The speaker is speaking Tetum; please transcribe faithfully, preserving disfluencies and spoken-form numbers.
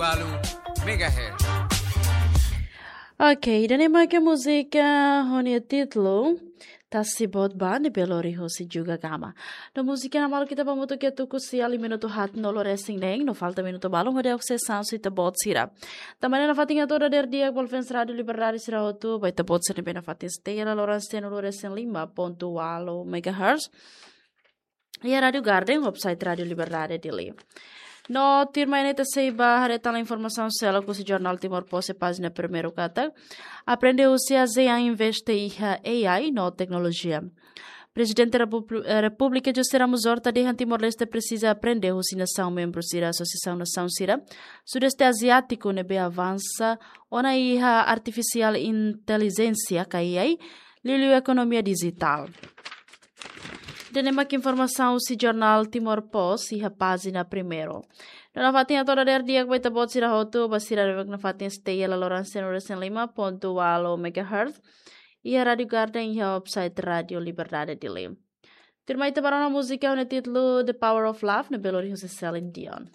Walu megahertz. Ok, ida-ne'e mak múzika ho nia títulu Tasi Boot Ba ne'ebé lori husi Juga Gama. No múzika ne'e maluk ita ba hamutuk iha tuku sia liu minutu haat no lorosa'e neng, no falta minutu balun hodi asesu ita-boot sira. Tanba ne'e nafatin hato'o dadeer di'ak ba fans Rádio Liberdade sira hotu, ba ita-boot sira ne'ebé nafatin stay iha laloran cento lorosa'e lima ponto walu megahertz. Iha Rádio Garden, website Rádio Liberdade Dili. No tuirmai ne'e ita sei ba haree tan informasaun seluk husi jornál Timor Post iha pájina primeiru katak: Aprende husi ASEAN investe iha A I no teknolojia. Prezidente Repúbli-, eh, Repúblika José Ramos Horta dehan Timor-Leste presiza aprende husi nasaun membru sira Asosiasaun Nasaun sira Sudeste Aziátiku ne'ebé avansa ona iha artifisiál intelijénsia ka A I, liuliu ekonomia dijitál. Ida-ne'e mak informasaun husi jornál Timor Post iha pájina primeiru. No nafatin hato'o dadeer di'ak ba ita-boot sira hotu, ba sira ne'ebé nafatin stay iha laloran cento lorosa'e lima ponto walu megahertz. Iha Rádio Garden, iha website Rádio Liberdade Dili. Tuirmai ita ba rona múzika ho nia títulu The Power of Love ne'ebé lori husi Celine Dion.